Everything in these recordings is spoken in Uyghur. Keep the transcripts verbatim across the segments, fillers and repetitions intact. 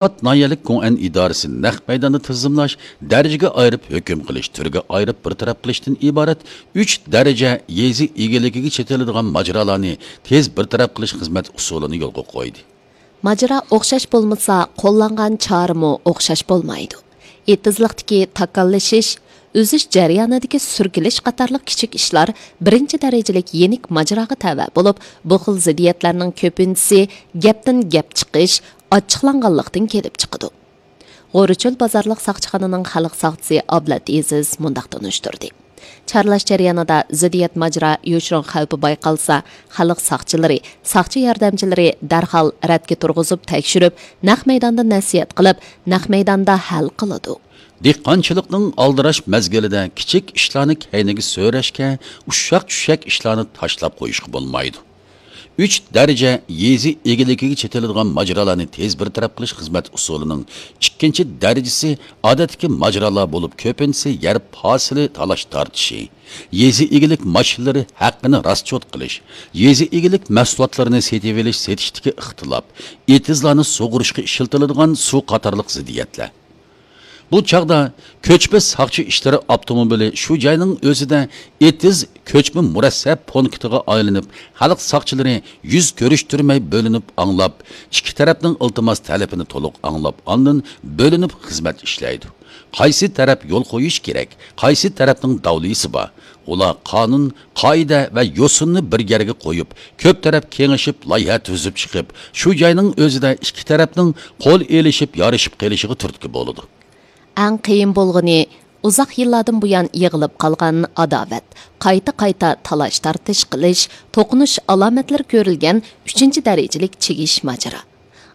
ئابات ناھىيەلىك گوڭئەن ئىدارىسى نەق مەيداندا تىزىملاش، دەرىجىگە ئايرىپ ھۆكۈم قىلىش، تۈرگە ئايرىپ بىر تەرەپ قىلىشتىن ئىبارەت ئۈچ دەرىجە يېزا ئىگىلىكىگە چېتىلىدىغان ماجىرالارنى تېز بىر تەرەپ قىلىش خىزمەت ئۇسۇلىنى يولغا قويدى. ماجىرا ئوخشاش بولمىسا، قوللانغان چارىمۇ ئوخشاش بولمايدۇ. ئېتىزلىقتىكى تاكاللىشىش، ئۈزۈش جەريانىدىكى سۈركىلىش قاتارلىق كىچىك ئىشلار بىرىنچى دەرىجىلىك يېنىك ماجىراغا تەۋە بولۇپ، بۇ خىل زىددىيەتلەرنىڭ كۆپىنچىسى گەپتىن گەپ چىقىش، ئاچچىقلانغانلىقتىن كېلىپ چىقىدۇ. غورچۆل بازارلىق ساقچىخانىنىڭ خەلق ساقچىسى ئابلەت ئېزىز مۇنداق تونۇشتۇردى. چارلاش جەريانىدا زىددىيەت ماجىرا يوشۇرۇن خەۋپى بايقالسا، خەلق ساقچىلىرى، ساقچى ياردەمچىلىرى دەرھال رەتكە تۇرغۇزۇپ تەكشۈرۈپ، نەق مەيداندا نەسىھەت قىلىپ، نەق مەيداندا ھەل قىلىدۇ. دېھقانچىلىقنىڭ ئالدىراش مەزگىلىدە كىچىك ئىشلارنى كەينىگە سۆرەشكە، ئۇششاق-چۈششەك ئىشلارنى تاشلاپ قويۇشقا بولمايدۇ. ئۈچ دەرىجە يېزا ئىگىلىكىگە چېتىلىدىغان ماجىرالارنى تېز بىر تەرەپ قىلىش خىزمەت ئۇسۇلىنىڭ ئىككىنچى دەرىجىسى ئادەتتىكى ماجىرالار بولۇپ، كۆپىنچىسى يەر پاسىلى تالاش-تارتىشى، يېزا ئىگىلىك ماشىنىلىرى ھەققىنى راسچوت قىلىش، يېزا ئىگىلىك مەھسۇلاتلىرىنى سېتىۋېلىش-سېتىشتىكى ئىختىلاپ، ئېتىزلارنى سۇغۇرۇشقا ئىشلىتىلىدىغان سۇ قاتارلىق زىددىيەتلەر. بۇ چاغدا كۆچمە ساقچى ئىشلىرى ئاپتوموبىلى شۇ جاينىڭ ئۆزىدە ئېتىز كۆچمە مۇرەسسە پونكىتىغا ئايلىنىپ، خەلق ساقچىلىرى يۈز كۆرۈشتۈرمەي بۆلۈنۈپ ئاڭلاپ، ئىككى تەرەپنىڭ ئىلتىماس تەلىپىنى تولۇق ئاڭلاپ، ئاندىن بۆلۈنۈپ خىزمەت ئىشلەيدۇ. قايسى تەرەپ يول قويۇش كېرەك، قايسى تەرەپنىڭ داۋلىسى بار، ئۇلار قانۇن، قائىدە ۋە يوسۇننى بىر يەرگە قويۇپ، كۆپ تەرەپ كېڭىشىپ، لايىھە تۈزۈپ چىقىپ، شۇ جاينىڭ ئۆزىدە ئىككى تەرەپنىڭ قول ئېلىشىپ، يارىشىپ قېلىشىغا تۈرتكە بولىدۇ. ئەڭ قىيىن بولغىنى، ئۇزاق يىللاردىن بۇيان يىغىلىپ قالغان ئاداۋەت، قايتا-قايتا تالاش-تارتىش قىلىش، توقۇنۇش ئالامەتلىرى كۆرۈلگەن ئۈچىنچى دەرىجىلىك چىگىش ماجىرا.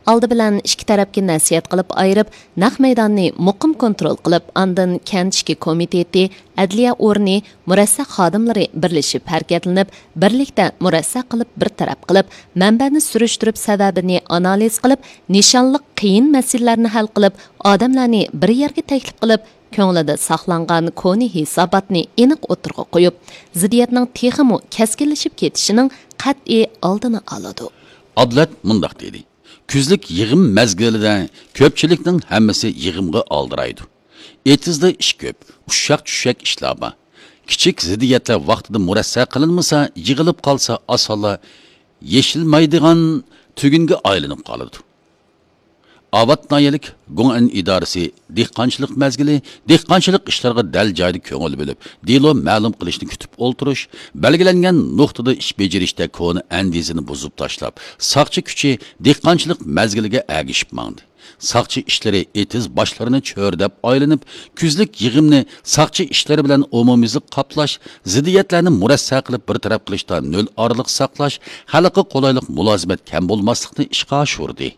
ئالدى بىلەن ئىككى تەرەپكە نەسىھەت قىلىپ ئايرىپ، نەق مەيداننى مۇقىم كونترول قىلىپ، ئاندىن كەنت ئىچكى كومىتېتى، ئەدلىيە ئورنى، مۇرەسسە خادىملىرى بىرلىشىپ ھەرىكەتلىنىپ، بىرلىكتە مۇرەسسە قىلىپ بىر تەرەپ قىلىپ، مەنبەنى سۈرۈشتۈرۈپ، سەۋەبىنى ئانالىز قىلىپ، نىشانلىق قىيىن مەسىلىلەرنى ھەل قىلىپ، ئادەملەرنى بىر يەرگە تەكلىپ قىلىپ، كۆڭلىدە ساقلانغان كونا ھېساباتنى ئېنىق ئوتتۇرىغا قويۇپ، زىددىيەتنىڭ تېخىمۇ كەسكىنلىشىپ كېتىشىنىڭ قەتئىي ئالدىنى ئالىدۇ. ئابلەت مۇنداق دېدى، كۈزلۈك يىغىم مەزگىلىدە كۆپچىلىكنىڭ ھەممىسى يىغىمغا ئالدىرايدۇ. ئېتىزدا ئىش كۆپ، ئۇششاق-چۈششەك ئىشلار بار. كىچىك زىددىيەتلەر ۋاقتىدا مۇرەسسە قىلىنمىسا، يىغىلىپ قالسا، ئاسانلا يېشىلمايدىغان تۈگۈنگە ئايلىنىپ قالىدۇ. ئاۋات ناھىيەلىك گوڭئەن ئىدارىسى دېھقانچىلىق مەزگىلى، دېھقانچىلىق ئىشلىرىغا دەل جايىدا كۆڭۈل بۆلۈپ، دېلو مەلۇم قىلىشنى كۈتۈپ ئولتۇرۇش، بەلگىلەنگەن نۇقتىدا ئىش بېجىرىشتە كونا ئەندىزىنى بۇزۇپ تاشلاپ، ساقچى كۈچى دېھقانچىلىق مەزگىلىگە ئەگىشىپ ماڭدى. ساقچى ئىشلىرى ئېتىز باشلىرىنى چۆرىدەپ ئايلىنىپ، كۈزلۈك يىغىمنى ساقچى ئىشلىرى بىلەن ئومۇميۈزلۈك قاپلاش، زىددىيەتلەرنى مۇرەسسە قىلىپ بىر تەرەپ قىلىشتا نۆل ئارىلىق ساقلاش، خەلققە قولايلىق مۇلازىمەت كەم بولماسلىقنى ئىشقا ئاشۇردى.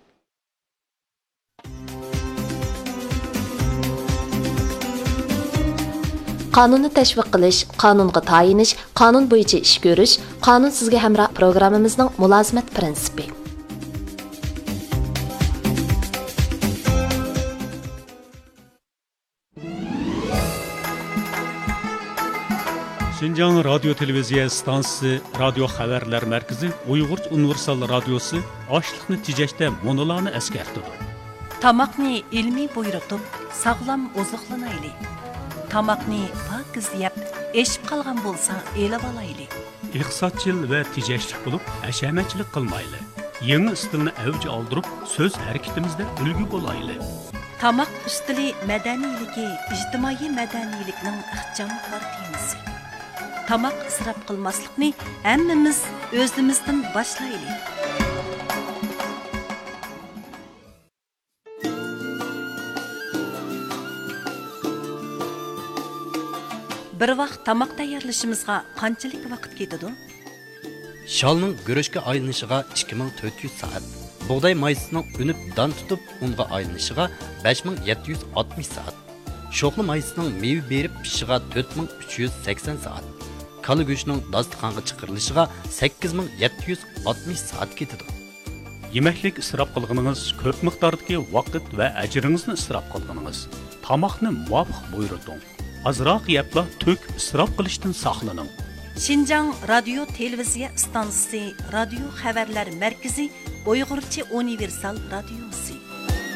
قانۇننى تەشۋىق قىلىش، قانۇنغا تايىنىش، قانۇن بويىچە ئىش كۆرۈش، قانۇن سىزگە ھەمراھ پروگراممىمىزنىڭ مۇلازىمەت پىرىنسىپى. شىنجاڭ رادىيو تېلېۋىزىيە ئىستانسىسى رادىيو خەۋەرلەر مەركىزى ئۇيغۇرچە ئۇنىۋېرسال رادىيوسى ئاشلىقنى تېجەشتە مۇنۇلارنى ئەسكەرتىدۇ. تاماقنى ئىلمىي بۇيرۇتۇپ، ساغلام ئوزۇقلىنايلى. تاماقنى پاكىز يەپ، ئېشىپ قالغان بولسا ئېلىۋالايلى. ئىقتىسادچىل ۋە تېجەشلىك بولۇپ، ھەشەمەتچىلىك قىلمايلى. يېڭى ئىستىلنى ئەۋج ئالدۇرۇپ، سۆز ھەرىكىتىمىزدە ئۈلگە بولايلى. تاماق ئۈستىلى مەدەنىيلىكى ئىجتىمائىي مەدەنىيلىكنىڭ ئىخچام كارتىنىسى. تاماق ئىسراپ قىلماسلىقنى ھەممىمىز ئۆزىمىزدىن باشلايلى. بىر ۋاق تاماق تەييارلىشىمىزغا قانچىلىك ۋاقىت كېتىدۇ؟ شالنىڭ گۈرۈچكە ئايلىنىشىغا ئىككى مىڭ تۆت يۈز سائەت، بۇغداي مايسىسىنىڭ ئۈنۈپ دان تۇتۇپ ئۇنغا ئايلىنىشىغا بەش مىڭ يەتتە يۈز ئاتمىش سائەت، شوخلا مايسىسىنىڭ مېۋە بېرىپ پىشىشىغا تۆت مىڭ ئۈچ يۈز سەكسەن سائەت، كالا گۆشىنىڭ داستىخانغا چىقىرىلىشىغا سەككىز مىڭ يەتتە يۈز ئاتمىش سائەت كېتىدۇ. يېمەكلىك ئىسراپ قىلغىنىڭىز، كۆپ مىقداردىكى ۋاقىت ۋە ئەجرىڭىزنى ئىسراپ قىلغىنىڭىز. تاماقنى مۇۋاپىق بۇيرۇتۇڭ. ئازراق يەپلا تۆك ئىسراپ قىلىشتىن ساقلىنىڭ. شىنجاڭ رادىيو تېلېۋىزىيە ئىستانسىسى رادىيو خەۋەرلەر مەركىزى ئۇيغۇرچە ئۇنىۋېرسال رادىيوسى.